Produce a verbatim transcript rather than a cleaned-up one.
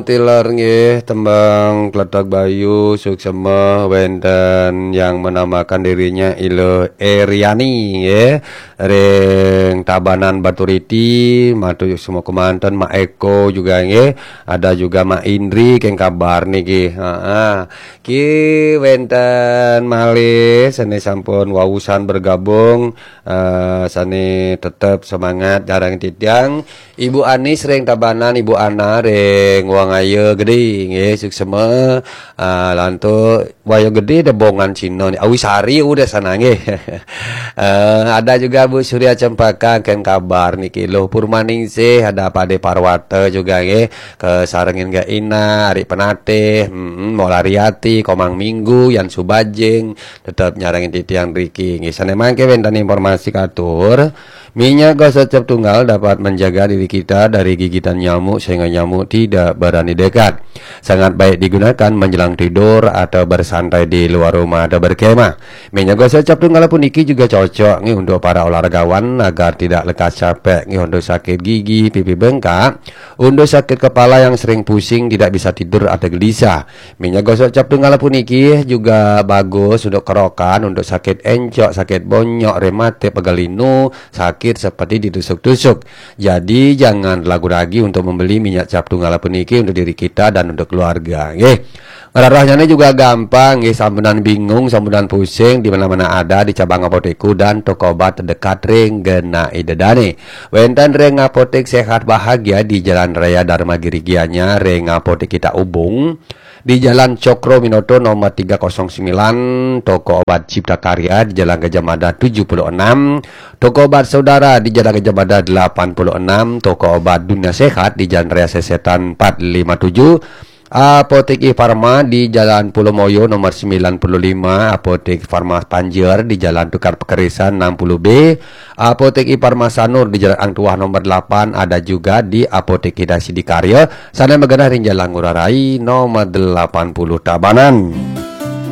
Tilar nggih, tembang Kletak Bayu, suksema wenten yang menamakan dirinya Ilo Eriani nggih. Ring Tabanan Baturiti, matur semua kemanten, Mak Eko juga nggih. Ada juga Mak Indri, keng kabar niki. Heeh. Ki wenten malih sane sampun wausan bergabung, eh, sane tetep semangat, jarang titiang. Ibu Anis ring Tabanan, Ibu Ana ring Wangaya Gede nggih, suksema. Ah, lantuk Waya Gede debongan Cina ni. Awi Sari udah sana nggih. Eh, ada juga Bu Surya Cempaka, keng kabar niki. Luh Purmaningsih, ada Pade Parwata juga nggih. Kesarengin Gak Ina, Ari Penatih, mm, Mola Riati, Komang Minggu, Yan Subajing, tetep nyarengin titiang riki nggih. Sane mangke wenten informasi katur. Minyak gosok cap tunggal dapat menjaga diri kita dari gigitan nyamuk sehingga nyamuk tidak berani dekat. Sangat baik digunakan menjelang tidur atau bersantai di luar rumah atau berkemah. Minyak gosok cap tunggal puniki juga cocok nggih untuk para olahragawan agar tidak lekas capek nggih, untuk sakit gigi, pipi bengkak, untuk sakit kepala yang sering pusing, tidak bisa tidur atau gelisah. Minyak gosok cap tunggal puniki juga bagus untuk kerokan, untuk sakit encok, sakit bonyok, rematik, pegal linu, sakit seperti ditusuk-tusuk. Jadi, jangan ragu-ragu untuk membeli minyak cap tunggal puniki untuk diri kita dan untuk keluarga, nggih. Ngrarahnyane juga gampang, nggih, sampunan bingung, sampunan pusing, di mana-mana ada di cabang apotekku dan toko obat terdekat ring genah ida dane. Wenten ring Apotek Sehat Bahagia di Jalan Raya Dharma Giri Gianyar, ring Apotek Kita Ubung, di Jalan Cokro Minoto nomor tiga kosong sembilan, toko obat Cipta Karya di Jalan Gajah Mada tujuh puluh enam, toko obat Saudara di Jalan Gajah Mada delapan puluh enam, toko obat Dunia Sehat di Jalan Raya Sesetan empat lima tujuh, Apotek Farma di Jalan Pulau Moyo nomor sembilan puluh lima, Apotek Farma Panjer di Jalan Tukar Pekerisan enam puluh B, Apotek Farma Sanur di Jalan Ang Tuah nomor delapan, ada juga di Apotek Hidayah Sidikarya, sana magenah ring Jalan Ngurah Rai nomor delapan puluh Tabanan.